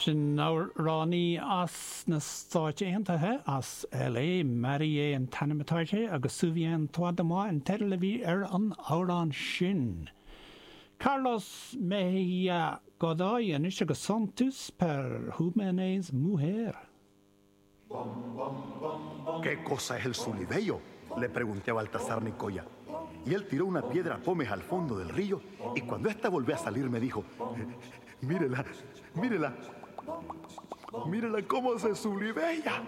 Sin amhránaí as na Stáit Aontaithe, as LA, Marie an t-ainm atá uirthi, agus Souviens-toi de moi an teideal a bhí ar an amhrán sin. Carlos Mejía Godoy anois agus Sontús per Jóvenes Mujer. ¿Qué cosa es el sulibello? Le pregunté a Baltasar Nicoya. Y él tiró una piedra pómez al fondo del río y cuando ésta volvió a salir me dijo, mírela, mírela, mírela cómo se sulibella.